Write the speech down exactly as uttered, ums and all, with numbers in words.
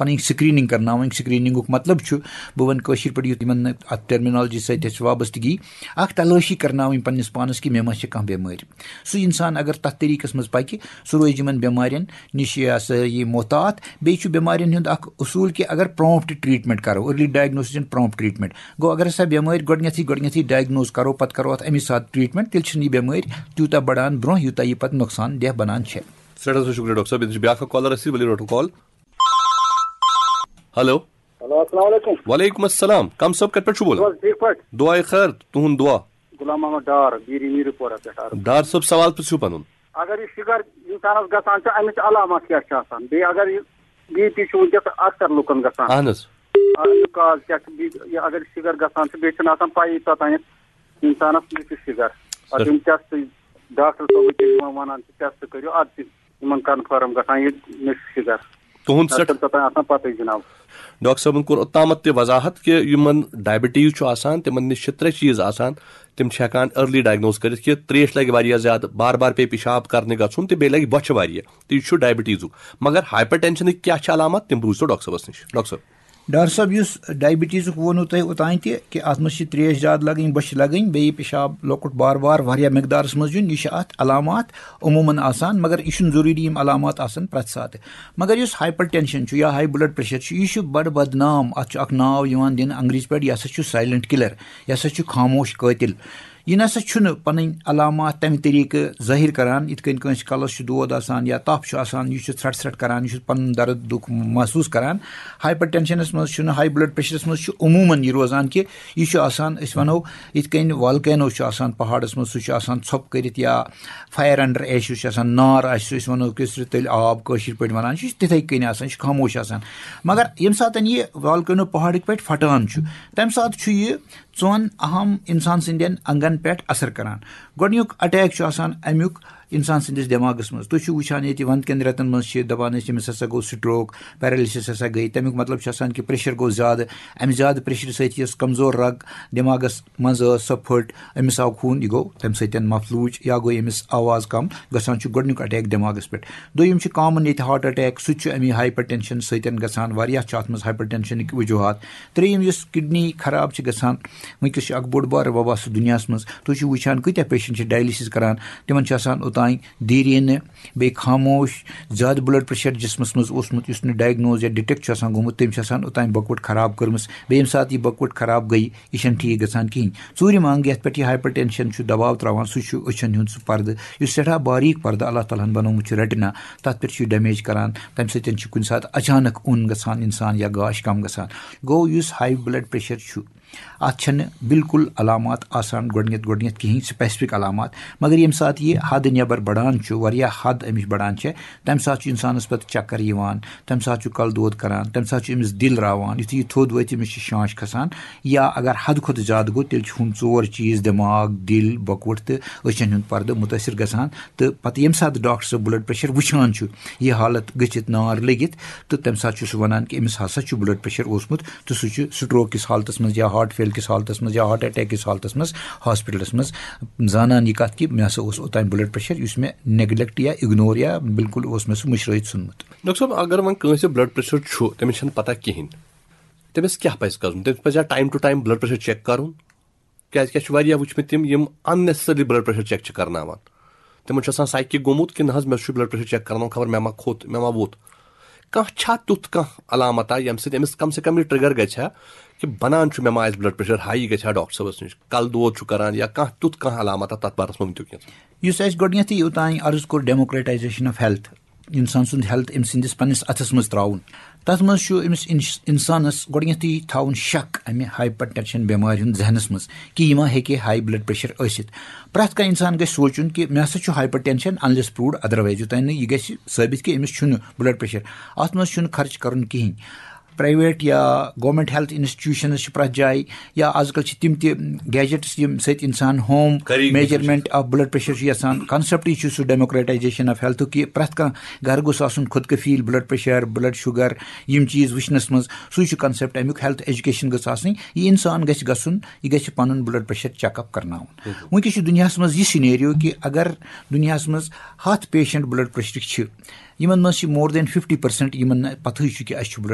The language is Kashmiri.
پَنٕنۍ سِکریٖنِنٛگ کَرناوٕنۍ۔ سِکریٖنِنٛگُک مطلب چھُ، بہٕ وَنہٕ کٲشِر پٲٹھۍ، یُتھ یِمَن نہٕ اَتھ ٹرمینالجی سۭتۍ اَسہِ وابستگی، اَکھ تلٲشی کَرناوٕنۍ پنٛنِس پانَس کہِ مےٚ ما چھِ کانٛہہ بٮ۪مٲرۍ۔ سُہ اِنسان اگر تَتھ طریٖقَس منٛز پَکہِ، سُہ روزِ یِمَن بٮ۪مارٮ۪ن نِش یہِ ہسا یہِ محتاط۔ بیٚیہِ چھُ بٮ۪مارٮ۪ن ہُنٛد اَکھ اصوٗل کہِ اگر پرٛامپٹ ٹرٛیٖٹمٮنٛٹ کَرو، early diagnosis and prompt treatment، گوٚو اگر ہسا بٮ۪مٲرۍ گۄڈٕنٮ۪تھٕے گۄڈٕنٮ۪تھٕے ڈایگنوز کَرو، پَتہٕ کَرو اَتھ اَمی ساتہٕ ٹرٛیٖٹمنٛٹ، تیٚلہِ چھِنہٕ یہِ بٮ۪مٲرۍ تیوٗتاہ بَڑان برٛونٛہہ، یوٗتاہ یہِ پَتہٕ نۄقصان دہ بَنان چھےٚ۔ سٮ۪ٹھاہ سٮ۪ٹھاہ شُکریہ ڈاکٹر صٲب۔ ییٚتہِ چھِ بیٛاکھ اَکھ کالَر اَسہِ، ؤلِو رَٹو کال۔ ہیلو۔ ہیلو، السلام علیکم۔ وعلیکم السلام۔ کم صٲب، کَتہِ پٮ۪ٹھ چھُو بولان؟ چھِو حظ ٹھیٖک پٲٹھۍ؟ دُعاے خٲر، تُہُنٛد دُعا۔ غلام محمد ڈار، بیٖری میٖرپورہ پٮ۪ٹھ عرض۔ ڈار صٲب، سوال پرٛژھِو پَنُن۔ اگر یہِ شُگر اِنسانَس گژھان چھُ، اَمِچ علامات کیٛاہ چھِ آسان؟ بیٚیہِ اگر یہِ بی پی چھُ وٕنکیٚس اکثر لُکَن گژھان۔ اہن حظ۔ اَمیُک کاز کیٛاہ چھُ؟ بیٚیہِ یہِ اگر شُگر گژھان چھُ، بیٚیہِ چھُنہٕ آسان پَیی توٚتانٮ۪تھ اِنسانَس یہِ چھُ شُگر۔ پَتہٕ یِم ٹیسٹ ڈاکٹر صٲبٕکۍ یِوان وَنان چھِ، ٹیسٹ کٔرِو، اَدٕ چھِ یِمَن کنفٲرٕم گژھان یہِ مےٚ چھُ شُگر۔ تُہُنٛد نَتہٕ سٮ۪ٹھ-، چھُنہٕ توٚتام آسان پَتہٕ جِناب۔ ڈاکٹر صٲبَن کوٚر اوٚتامَتھ تہِ وضاحت کہِ یِمَن ڈائبٹیٖز چھُ آسان، تِمَن نِش چھِ ترٛےٚ چیٖز آسان، تِم چھِ ہٮ۪کان ارلی ڈائگنوز کٔرِتھ کہِ ترٛیش لَگہِ واریاہ زیادٕ، بار بار پیٚیہِ پِشاب کَرنہِ گژھُن تہٕ بیٚیہِ لَگہِ بۄچھِ واریاہ، تہٕ یہِ چھُ ڈائبٹیٖزُک۔ مگر ہائپر ٹینشنٕکۍ کیٛاہ چھِ علامات، تِم بوٗزتو ڈاکٹر صٲبَس نِش۔ ڈاکٹر صٲب۔ ڈاکٹر صٲب، یُس ڈائبٹیٖزُک ووٚنوٕ تۄہہِ اوٚتانۍ تہِ کہِ اَتھ منٛز چھِ ترٛیش زیادٕ لَگٕنۍ، بۄچھِ لَگٕنۍ، بیٚیہِ پِشاب لۄکُٹ بار بار واریاہ مقدارَس منٛز یُن، یہِ چھِ اَتھ علامات عموٗماً آسان، مگر یہِ چھُنہٕ ضروٗری یِم علامات آسَن پرٛٮ۪تھ ساتہٕ۔ مگر یُس ہائپر ٹینشن چھُ یا ہائی بلڈ پریشر چھُ، یہِ چھُ بڑٕ بدنام، اتھ چھُ اکھ ناو یِوان دِنہٕ انگریزی پٲٹھۍ، یہِ ہسا چھُ سائلنٹ کلر، یہِ ہسا چھُ خاموش قٲتل۔ یہِ نسا چھُنہٕ پنٕنۍ علامات تمہِ طریقہٕ ظٲہِر کران، یِتھ کٔنۍ کٲنٛسہِ کلس چھُ دود آسان یا تپھ چھُ آسان، یہِ چھُ ژھرٹ ژھرٹ کران، یہِ چھُ پنُن درد دُکھ محسوس کران۔ ہائپر ٹینشنس منٛز چھُنہٕ، ہائی بلڈ پریشرس منٛز چھُ عموٗماً یہِ روزان کہِ یہِ چھُ آسان، أسۍ ونو، یِتھ کٔنۍ والکینو چھُ آسان پہاڑس منٛز، سُہ چھُ آسان ژھۄپہٕ کٔرِتھ، یا فائر انڈر ایش یُس چھُ آسان، نار آسہِ سُہ، أسۍ وَنو کٲشِر تیٚلہِ آب، کٲشِر پٲٹھۍ وَنان چھِ، یہِ چھُ تِتھَے کٔنۍ آسان، یہِ چھُ خاموش آسان۔ مگر ییٚمہِ ساتَن یہِ والکینو پہاڑٕکۍ پٲٹھۍ پھٹان چھُ، تَمہِ ساتہٕ چھُ یہِ ژۄن اہم اِنسان سٕنٛدٮ۪ن انٛگن پٮ۪ٹھ اثر کران۔ گۄڈٕنیُک اٹیک چھُ آسان اَمیُک اِنسان سٕنٛدِس دٮ۪ماغَس منٛز۔ تُہۍ چھِو وٕچھان ییٚتہِ وَندٕ کٮ۪ن رٮ۪تَن منٛز چھِ دَپان أسۍ، أمِس ہسا گوٚو سٹروک، پیرالسِس ہسا گٔے، تَمیُک مطلب چھُ آسان کہِ پریشر گوٚو زیادٕ، اَمہِ زیادٕ پریشرٕ سۭتۍ یۄس کمزور رگ دٮ۪ماغَس منٛز ٲس، سۄ پھٔٹ، أمِس آو خوٗن، یہِ گوٚو تَمہِ سۭتۍ مفلوج یا گوٚو أمِس آواز کم گژھان، چھُ گۄڈٕنیُک اٹیک دٮ۪ماغَس پٮ۪ٹھ۔ دوٚیِم چھُ کامن ییٚتہِ ہارٹ اٹیک، سُہ تہِ چھُ اَمی ہائپر ٹینشن سۭتۍ گژھان، واریاہ چھِ اَتھ منٛز ہائپر ٹینشنٕکۍ وجوہات۔ ترٛیٚیِم، یُس کڈنی خراب چھِ گژھان، وٕنکیٚس چھُ اکھ بوٚڑ بار وبا سُہ دُنیاہَس منٛز، تُہۍ چھِو وٕچھان کۭتیاہ پیشنٹ چھِ ڈائلسس کران، تِمن چھِ آسان اوٚتانۍ دیٖرینہٕ، بیٚیہِ خاموش، زیادٕ بلڈ پریشر جسمس منٛز اوسمُت، یُس نہٕ ڈائگنوز یا ڈیٹیکٹ چھُ آسان گوٚمُت، تٔمۍ چھِ آسان اوٚتانۍ بۄکوَٹ خراب کٔرمٕژ۔ بیٚیہِ ییٚمہِ ساتہٕ یہِ بۄکوَٹ خراب گٔیہِ، یہِ چھَنہٕ ٹھیٖک گژھان کِہیٖنۍ۔ ژوٗرِم انگ یَتھ پٮ۪ٹھ یہِ ہائپر ٹینشن چھُ دباو تراوان، سُہ چھُ أچھن ہُنٛد سُہ پردٕ، یُس سٮ۪ٹھاہ باریٖک پردٕ اللہ تعالیٰ ہن بنوومُت چھُ ریٹنا، تَتھ پٮ۪ٹھ چھُ یہِ ڈیمیج کران۔ تَمہِ سۭتۍ چھُ کُنہِ ساتہٕ اچانک اوٚن گژھان اِنسان یا گاش کم گژھان۔ گوٚو، یُس ہائی بلڈ پریشر چھُ، اَتھ چھَنہٕ بالکل علامات آسان گۄڈٕنٮ۪تھ گۄڈٕنٮ۪تھ کِہیٖنۍ، سپیسفک علامات، مگر ییٚمہِ ساتہٕ یہِ حد نٮ۪بر بڑان چھُ، واریاہ حد اَمِچ بڑان چھےٚ، تَمہِ ساتہٕ چھُ اِنسانَس پَتہٕ چکر یِوان، تَمہِ ساتہٕ چھُ کَلہٕ دود کران، تَمہِ ساتہٕ چھُ أمِس دِل راوان، یُتھُے یہِ تھوٚد وٲتۍ، أمِس چھِ شانٛش کھسان، یا اگر حد کھۄتہٕ زیادٕ گوٚو، تیٚلہِ چھِ ہُم ژور چیٖز، دٮ۪ماغ، دِل، بۄکوَٹ تہٕ أچھَن ہُنٛد پردٕ مُتٲثر گژھان۔ تہٕ پَتہٕ ییٚمہِ ساتہٕ ڈاکٹر صٲب بلڈ پریشر وٕچھان چھُ، یہِ حالت گٔژھِتھ، نار لٔگِتھ، تہٕ تَمہِ ساتہٕ چھُ سُہ وَنان کہِ أمِس ہسا چھُ بلڈ پریشر اوسمُت، تہٕ سُہ چھُ سٹروک کِس حالتس منٛز یا ہارٹ فیل کِس حالتس منٛز یا ہارٹ اٹیک کِس حالتس منٛز ہاسپٹلس منٛز زانان یہِ کَتھ کہِ مےٚ ہسا اوس اوٚتام بلڈ پریشر، یُس مےٚ نیگلیکٹ یا اگنور یا بالکل اوس مےٚ سُہ مٔشرٲیِتھ ژھُنمُت۔ ڈاکٹر صٲب، اگر وۄنۍ کٲنٛسہِ بلڈ پریشر چھُ، تٔمِس چھَنہٕ پتہ کِہیٖنۍ، تٔمِس کیٛاہ پَزِ کَرُن؟ تٔمِس پَزِ time to time blood pressure check کَرُن؟ کیٛازِکہِ اَسہِ چھُ واریاہ وٕچھمٕتۍ تِم، یِم unnecessarily blood pressure check چھِ کرناوان۔ تِمن چھُ آسان سایکِک گوٚمُت کہِ نہ حظ، مےٚ چھُ بلڈ پریشر چیک کرناوُن، خبر مےٚ ما کھوٚت، مےٚ ما ووٚتھ۔ کانٛہہ چھا تیُتھ کانٛہہ علامت آ، ییٚمہِ سۭتۍ أمِس کم سے کم یہِ ٹرگر گژھِ ہا کہِ بنان چھُ مےٚ ما آسہِ بلڈ پریشر ہاے، یہِ گژھِ ہا ڈاکٹر صٲبس نِش، کلہٕ دود چھُ کران یا کانٛہہ تیُتھ کانٛہہ علامت آ، تتھ بارس منٛز ؤنۍ تو کینٛہہ۔ یُس اَسہِ گۄڈٕنیتھٕے اوٚتانۍ عرض کوٚر، democratization of health، انسان سُنٛد ہیلتھ أمۍ سٕنٛدِس پننِس اَتھَس منٛز ترٛاوُن۔ تَتھ منٛز چھُ أمِس اِنس-، اِنسانَس گۄڈٕنٮ۪تھٕے تھاوُن شک اَمہِ ہائپر ٹینشن بٮ۪مارِ ہُنٛد ذہنَس منٛز کہِ یہِ ما ہیٚکہِ ہائی بلڈ پریشر ٲسِتھ۔ پرٛٮ۪تھ کانٛہہ اِنسان گژھِ سوچُن کہِ مےٚ ہسا چھُ hyper tension, unless proved otherwise، یوٚتام نہٕ یہِ گژھِ ثٲبت کہِ أمِس چھُنہٕ بلڈ پریشر۔ اَتھ منٛز چھُنہٕ خرچ کَرُن کِہیٖنۍ۔ پرائیویٹ یا گورنمنٹ ہیلتھ انسٹیٹیوشنز چھِ پرٛٮ۪تھ جایہِ، یا آز کل چھِ تِم تہِ گیجٹس یِم سۭتۍ انسان ہوم گری میجرمنٹ آف بلڈ پریشر چھُ یژھان۔ کانسیپٹ یہِ چھُ سُہ democratization of health کہِ پرٛٮ۪تھ کانٛہہ گرٕ گوٚژھ آسُن خود کفیل بلڈ پریشر، بلڈ شوگر، یِم چیٖز وٕچھنس منٛز۔ سُے چھُ کانسیپٹ امیُک، ہیلتھ ایجوکیشن گٔژھ آسٕنۍ۔ یہِ انسان گژھِ گژھُن، یہِ گژھِ پنُن بلڈ پریشر چیک اپ کرناوُن۔ وٕنکیٚس چھُ دُنیاہس منٛز یہِ سینیریو کہِ اگر دُنیاہس منٛز ہتھ پیشنٹ بلڈ پریشرٕکۍ چھِ، یِمن منٛز چھِ more than fifty percent یِمن نہٕ پتہٕے چھُ کہِ اَسہِ چھُ بلڈ